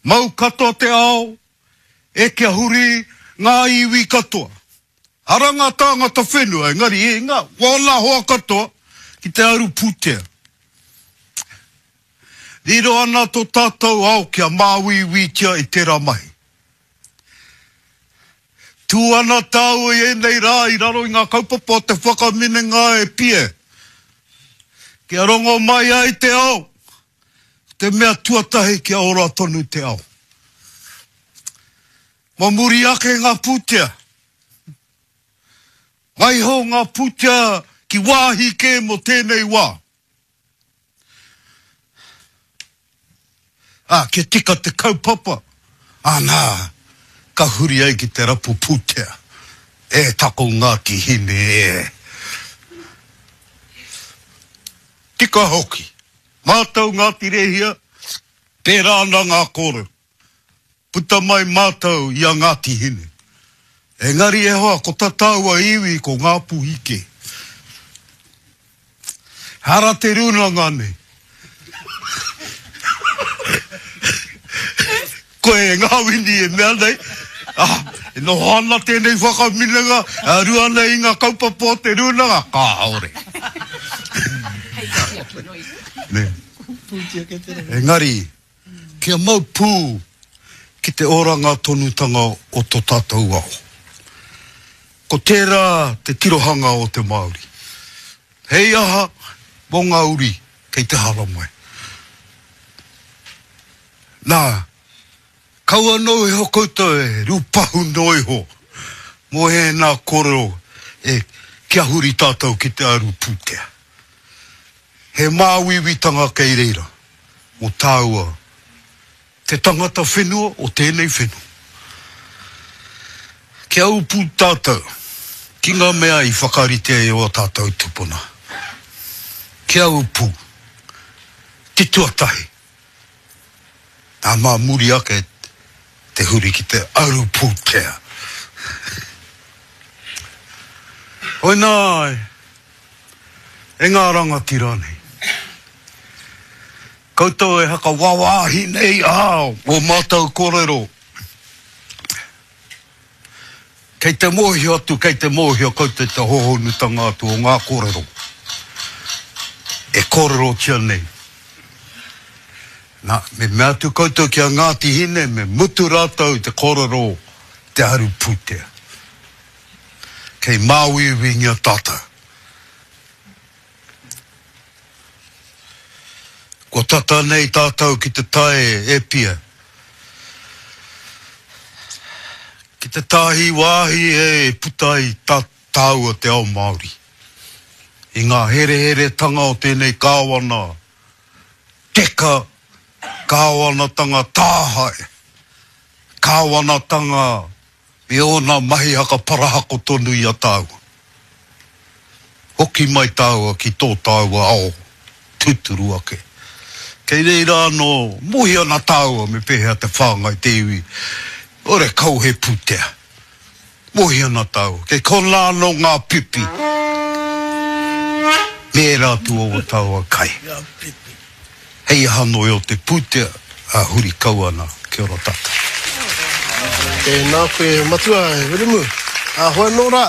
Mau katoa te ao, e kia huri ngā iwi katoa. Ara ngā tāngata whenua, engari e ngā, wōna hoa katoa ki te aru pūtea. Riro ana tō tātou ao kia māuiuitia i tērā mahi. Tū ana tāua i ēnei rā i raro i ngā kaupapa o te whakaminenga e pie. Kia rongo mai ai te ao, ko te mea tuatahi kia ora tonu te ao. Mō muri ake ngā pūtea. Waiho ngā pūtea ki wāhi kē mō tēnei wā. Ā, kia tika te kaupapa, āna, ka huri ai ki te rapu pūtea. E tako Ngāti Hine e. Tika hoki. Mātou Ngāti Rēhia, pērā ana ngā kōrero. Puta mai mātou i a Ngāti Hine. Engari e hoa, ko ta tāua iwi ko Ngāpuhi kē. Hara te rūnanga nei. Koe e Ngāwini e mea nei, ah, e noho ana tēnei whakaminenga, e aru ana i ngā kaupapa o te rūnanga, kāore. Nē. Engari, Kia mau pū ki te oranga tonutanga o to tātou ao. Ko tērā te tirohanga o te Māori. Hei aha mō ngā uri kei te haramai. Nā, kaua noa iho koutou e rūpahu noa iho mō ēnā kōrero e kia huri tātou ki te aru pūtea. He māuiuitanga kei reira mō tāua te tangata whenua o tēnei whenua. Kia ū pū tātou ki ngā mea i whakaritea e ō tātou tupuna. Kia ū pū. Te tuatahi, nā mā muri ake te huri ki te aru pūtea. Hoinā E ngā rangatira nei. Koutou e hakawāwāhi nei ā ō mātou kōrero. Kei te mōhio atu, kei te mōhio koutou te hōhonutanga atu o ngā kōrero e kōrerotia nei. Nā, me mea atu koutou ki a Ngāti Hine me mutu rātou te kōrero te aru pūtea. Kei māuiuingia tātou. Kua tata nei tātou ki te tae e pia. Ki te tāhi wāhi e puta ai tā tāua te ao Māori. I ngā hereheretanga o tēnei kāwana teka, kāwanatanga tāhae, kāwanatanga Me ōna mahi hakaparahako tonu i a tāua. Hoki mai tāua ki tō tāua ao tūturu ake. Kei reira anō, mohi ana tāua me pēhea te whāngai te iwi, ore kau he pūtea. Mohi ana tāua, kei konā anō ngā pipi me ērā atu o ō tāua kai. Hei aha noa o te pūtea, ā, huri kau ana, kia ora tātou. Tēnā koe Matua Wiremu. Ā, hoi anō rā,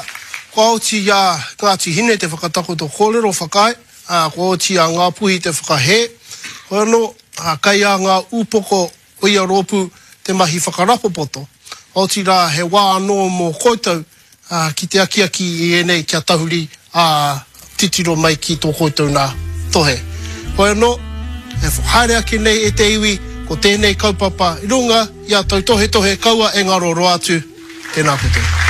kua oti i a Ngāti Hine te whakatakoto kōrero whakaae, ā, kua oti i a Ngāpuhi te whakahē. Hoi anō, ā, kei a ngā ūpoko o ia rōpū te mahi whakarapopoto. Otirā, he wā anō mō koutou ki te akiaki i ēnei kia tahuri, ā, titiro mai ki tō koutou nā tohe. Hoi anō, e haere ake nei e te iwi, ko tēnei kaupapa i runga i a tautohetohe kaua e ngaro roa atu. Tēnā koutou.